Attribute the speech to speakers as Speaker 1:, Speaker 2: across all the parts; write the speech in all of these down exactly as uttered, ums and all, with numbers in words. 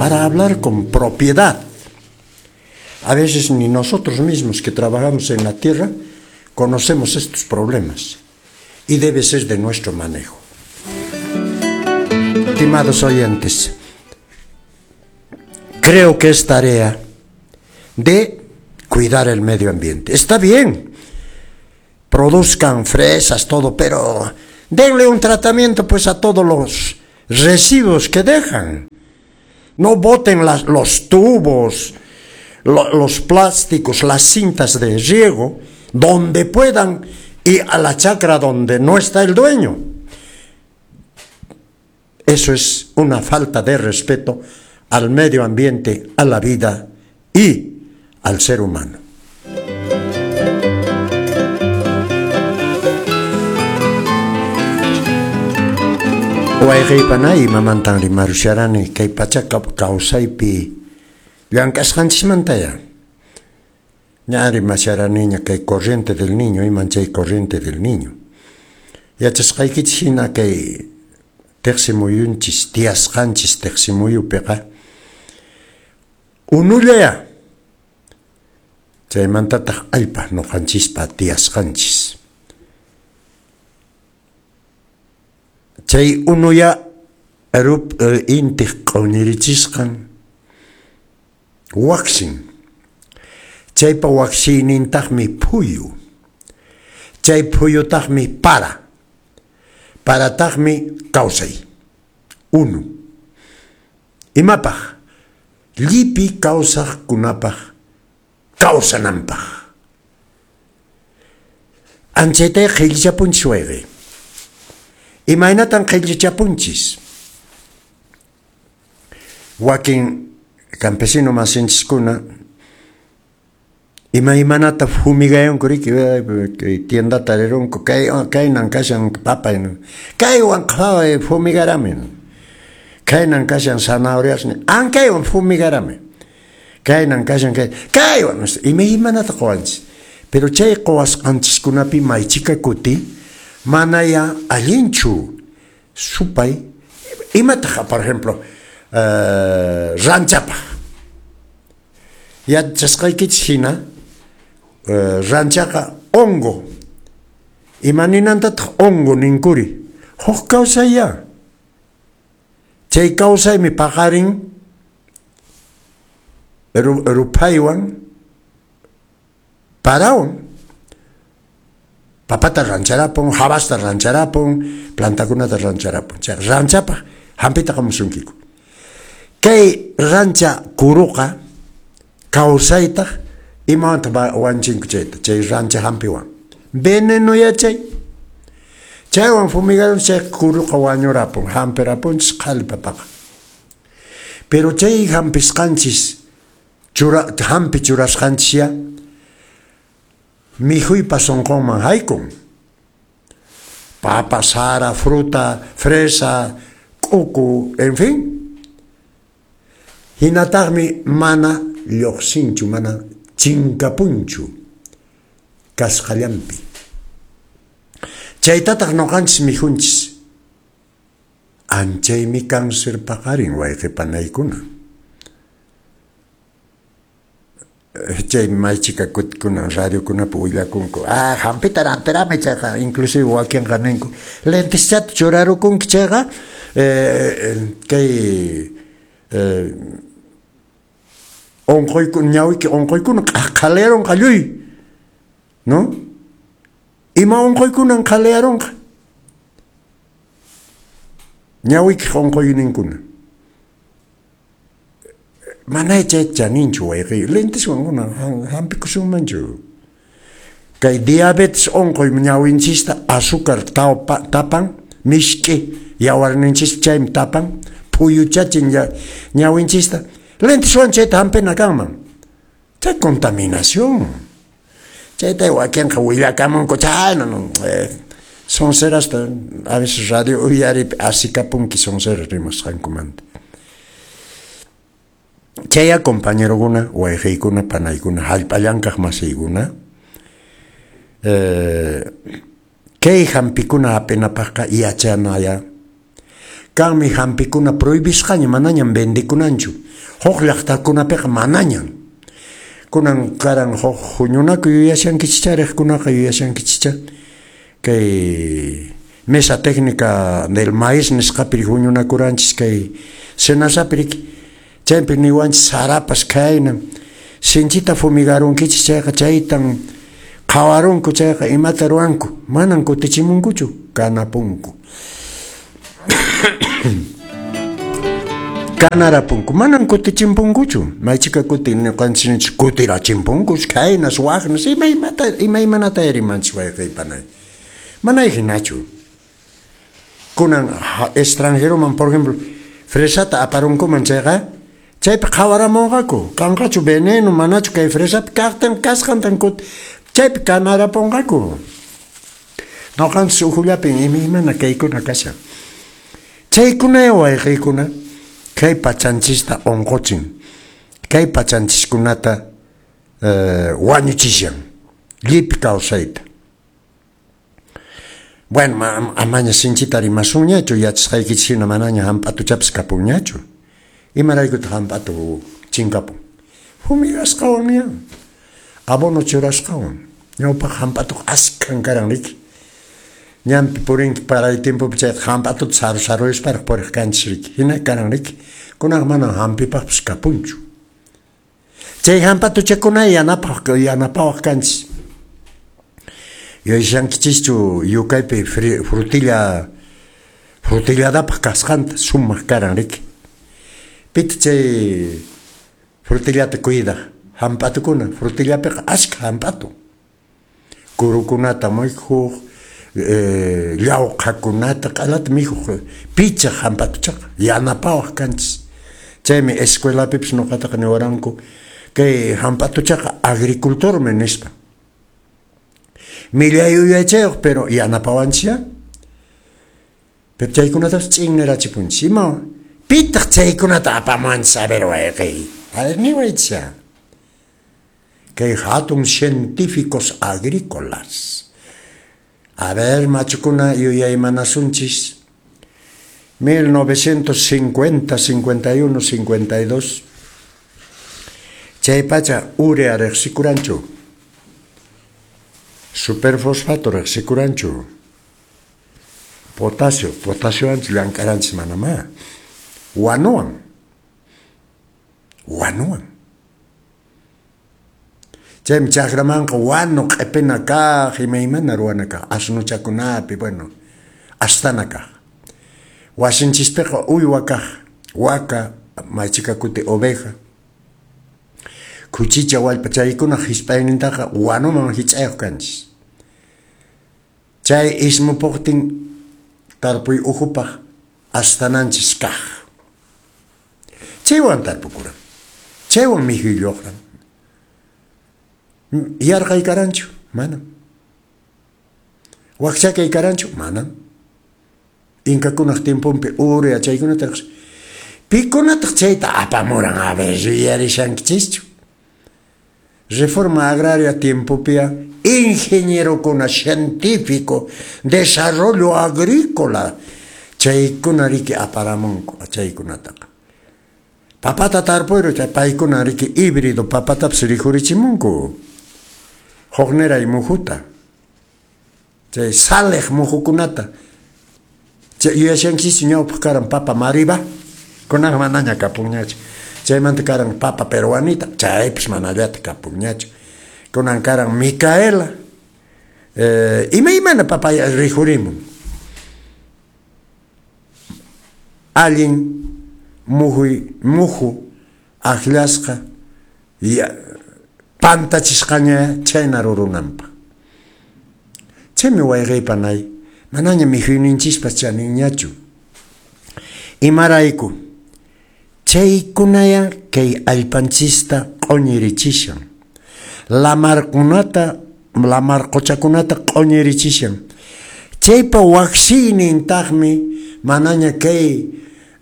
Speaker 1: Para hablar con propiedad. A veces ni nosotros mismos que trabajamos en la tierra conocemos estos problemas y debe ser de nuestro manejo. Estimados oyentes, creo que es tarea de cuidar el medio ambiente. Está bien, produzcan fresas, todo, pero denle un tratamiento pues a todos los residuos que dejan. No boten las, los tubos, lo, los plásticos, las cintas de riego, donde puedan y a la chacra donde no está el dueño. Eso es una falta de respeto al medio ambiente, a la vida y al ser humano. Wayqiypana imamantan rimarusharani kay pachaqa kawsaypi llank'asqanchismantaya. Ña rimasharaniña kay corriente del niño, iman chay corriente del niño. Yachasqaykichis hina kay teqsimuyunchis, tiyasqanchis teqsimuyupiqa unullaya. Chaymantataq allpa ñuqanchispa tiyasqanchis. Chay unuya rup intiq q'uñirichisqan waqsin. Chaypa waqsiynintaqmi phuyu. Chay phuyutaqmi para. Parataqmi kawsay. Unu. Imapaq? Llipi kawsaqkunapaq kawsananpaq. Anchaytay qhillichapunchis wayqi. Imaynatan qhillichapunchis? Wakin campesino masinchiskuna imaymanata fumigayanku riki, tiendata rirunku, kay kaynan kashan papa, kaywan fumigarami, kaynan kashan zanahorias, ankaywan fumigarami, kaynan kashan kay, kaywan imaymanata quwanchis. Pero chay quwasqanchiskunapi maychika kuti manaya allinchu supay imataq, por ejemplo, uh, ranchapaq. Yachasqaykichis hina uh, ranchaqa hongo. Imaninantataq hongo ninkuri? Huk kawsayya. Chay kawsaymi paqarin ruphaywan parawan. Papata rancharapun, habasta rancharapun, plantakunata rancharapun. Chay ranchapaq hampita qamusunkiku. Kay rancha kuruqa kawsaytaq imawantaq wanchinku chayta, chay rancha hampiwan. Veneno yachay. Chaywan fumigaron chay kuruqa wañurapun, hampirapunchis qhali papaqa. Pero chay hampisqanchis, chura, hampi churasqanchisya mikhuypa sunqunman haykun. Papa, sara, fruta, fresa, k'uku, en fin. Hinataqmi mana lluqsinchu, mana chinkapunchu kasqallanpi. Chaytataq ñuqanchis mikhunchis. Anchaymi cáncer paqarin wayqi panaykuna. Chay maychika kutikuna radiokunapi willakunku. Ah, hampita rampirami chayqa, inclusive wakinqa ninku. Lenteschata churarukunki chayqa, eh, kay eh, onqoykuna ñawiki onqoykuna qhaliyaronqa lluy, ¿no? Ima onqoykunan qhaliyaronqa? Ñawiki onqoyninkuna. Mana chay chaninchu wayqi, lenteswan hampikusunmanchu. Kay diabetes onqoy ñawinchista azúcar tapan, mishk'i yawarninchista chaymi tapan, phuyuchachin ñawinchista. Lenteswan chayta hampina kanman. Chay contaminación. Chayta wakinqa willakamunku chayna, no, eh, soncerasta a veces radio uyaripi asikapunki sonceras rimasqankumanta. Chaya compañerokuna, wayqiykuna, panaykuna, hallp'allankaq masiykuna, eh, kay hampikuna hap'inapaqqa yachanaya Kanmi hampikuna prohibisqaña manañam vendekunanchu. Huk llaqtakunapiqa manañan. Kunan karan huk huñunakuy yuyashankichicha riqkunaqa yuyashankichicha kay mesa técnica del maíz nisqapi huñunakuranchis kay SENASApi riki. Chaypi niwanchis sarapas khaynan sinchita fumigarunkichis chayqa chaytan qhawarunku chayqa imata ruwanku manan kutichimunkuchu kanapunku. Kanarapunku manan kutichimpunkuchu maychika kuti ñuqanchis kutirachimpunkus khaynas waqnas imaymata imaymanata rimanchis wayqiypanay manay hinachu. Kunan extranjeroman por ejemplo fresata aparunkuman chayqa chaypi qhawaramunqaku kanqachu veneno manachu kay fresapi kaqtan kasqantan kuti chaypi kanarapunqaku. Ñuqanchis ukhullapin imaymana kaykuna kashan. Chaykuna wayqiykuna kay pachanchista unquchin, kay pachanchiskunata eh, wañuchishan llipi kawsayta. Bueno, amaña sinchita rimasunñachu yachasqaykichis hina manaña hamp'atuchapas kapunñachu. Imaraykutaq hamp'atu chinkapun? Fumigasqawan ña, abono churasqawan. Ñawpaq hamp'atuqa askhan karan riki. Ñanpi purinki paray tiempopi chayqa hamp'atuta saru saruyasparaq puriq kanchis riki. Hina karan riki. Kunanqa manan hampipaqpas kapunchu. Chay hamp'atuchakuna yanapaq yanapawaq kanchis. Yuyashankichischu yukaypi frutilla frutilladapaq kasqanta sumaq karan riki. Pita chay frutillata cuidaq hamp'atukuna frutillapiqa askha hamp'atu. Kurukunata mikhuq, eh, llawqakunata q'alata mikhuq pichaq hamp'atuchaqa yanapawaq kanchis. Chaymi escuelapipis ñuqataqa niwaranku kay hamp'atuchaqa agricultormi nispa. Millay yuyaychayuq pero yanapawanchis. Pero chaykunatapas ch'innirachipunchis. Ima pitaq chaykunata apamuwanchis a ver wayqiy. A ver niwaychis. Kay hatun científicos agrícolas. A ver machukuna yuyaymanasunchis. mil novecientos cincuenta, cincuenta y uno, cincuenta y dos. Chay pacha urea riqsikuranchu. Superfosfato riqsikuranchu. Potasio, potasio anchis llank'aranchis manamá. Wanuwan. Wanuwan. Chaymi chakramanqa wanu q'ipina kaq, imaymana ruwana kaq, asnuchakunapi, bueno, astana kaq. Wasinchispiqa uywa kaq, waka, maychika kuti oveja. Khuchicha wallpa chaykunaq hisp'aynintaqa wanuman hich'ayuq kanchis. Chay ismupuqtin tarpuy ukhupaq astananchis kaq. Chaywan tarpukuran. Chaywan mikhuy lluqran. Yarqay karanchu? Manam. Wakchakay karanchu? Manam. Inkakunaq tiemponpi urea chaykunata riqsi. Pikunataq chayta apamuran a ver yuyarishankichischu. Reforma agraria tiempopia ingenierokuna científico desarrollo agrícola chaykuna riki aparamunku chaykunataqa. Papata tarpuyru chay paykuna riki híbrido papatapas rikhurichimunku. Hukniray muhuta. Chay saliq muhukunata. Chay yuyashankichischu ñawpaq karan papa mariba. Kunanqa manaña kapunñachu. Chaymanta karan papa peruanita, chaypis manallata kapunñachu. Kunan karan Micaela. Eh, imaymana papa rikhurimun. Allin muhuy muhu akllasqa pantachisqaña chayna rurunanpaq. Chaymi wayqiypanay manaña mikhuyninchispas chaninñachu. Imarayku chaykunaya kay allpanchista q'uñirichishan. Lamarkunata, lamar quchakunata q'uñirichishan. Chaypa waqsiynintaqmi manaña kay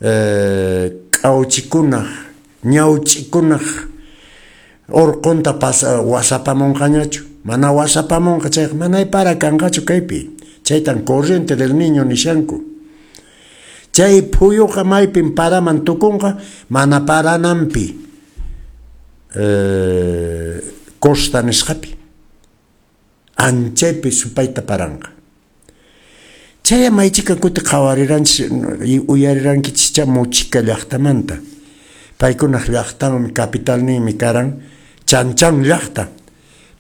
Speaker 1: eh, k'awchikunaq, ñawch'ikunaq urqunta pasa wasapamunqañachu. Mana wasapamunqa chayqa manay para kanqachu kaypi. Chaytan corriente del niño nishanku. Chay phuyuqa maypin paraman tukunqa, mana parananpi eh, costa nisqapi. Anchaypi supayta paranqa. Chay maychika kuti qhawariranchis, uyarirankichis Mochica llaqtamanta. Paykunaq llaqtanmi capitalninmi karan Chan Chan llaqta.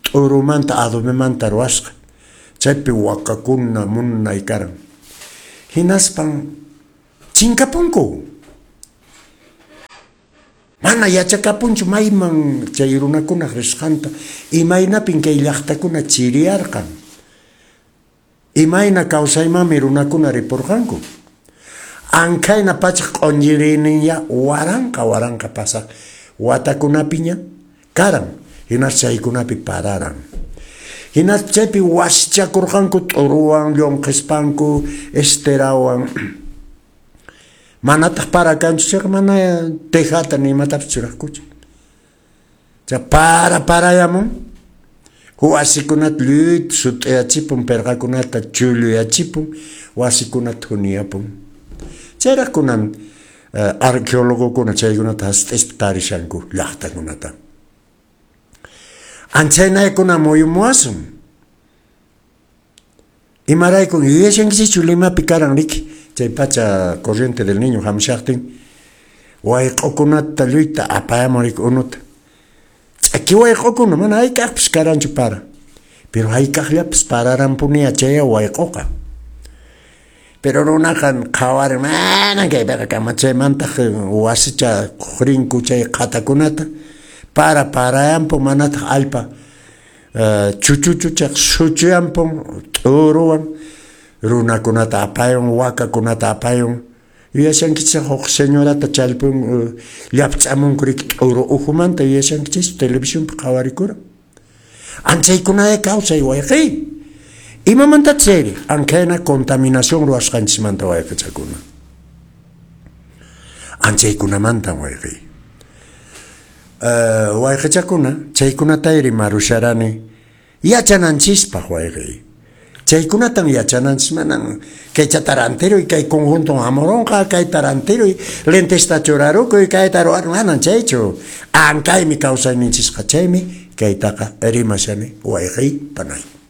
Speaker 1: T'urumanta adobemanta ruwasqa. Chaypi wakakuna munay karan. Hinaspan chinkapunku. Mana yachakapunchu mayman chay runakunaq risqanta, imaynapin kay llaqtakuna chiriyarqan. Imayna kawsaymanmi runakuna ripurqanku. Ankhayna pachaq q'unchiriyninya waranqa waranqa pasaq watakunapiña karan. Hinas chaykunapi pararan. Hinas chaypi wasichakurqanku t'uruwan, llunkhispanku, esterawan. Manataq para kanchu chayqa mana tejata ni imatapis churaqkuchu. Chay para parayamun, wasikunata lluyta sut'iyachipun, pirqakunata chulluyachipun, wasikunata thuniyapun. Chayraq kunan uh, arqueologokuna chaykunata hasut'ispa tarishanku llaqtakunata. Anchaynaykuna muyumuwasun. Imaraykun yuyashankichikchu Limapi karan riki, chay pacha corriente del niño hamushaqtin wayq'ukunata lluyta apayamun riki unuta. Ch'aki wayq'ukuna mana hayk'aqpis karanchu para. Pero hayk'aqllapis pararanpuniya chay wayq'uqa. Pero runaqa qhawarin manan kaypiqa kama chaymantaq wasicha rinku chay qhatakunata para parayanpun manataq allpa uh, chuchuchuchaq suchuyanpun t'uruwan runakunata apayun wakakunata apayun. Yuyashankichis huk señorata challpun uh, llapch'amunku riki t'uru ukhumanta yuyashankichis televisionpi qhawarikuran. Anchaykunaya kawsay wayqiy. Imamanta chayri ankhayna contaminación ruwasqanchismanta wayqichakuna. Anchaykunamantan wayqiy. Uh, wayqichakuna chaykunatayri marusharani yachananchispaq wayqiy. Chaykunatan yachananchis manan kay chatarantiruy kay conjunto hamuronqa kay tarantiruy lentesta churarukuy kayta ruwan manan chaychu. Ankaymi kawsayninchisqa chaymi kaytaqa rimashani wayqiy panay.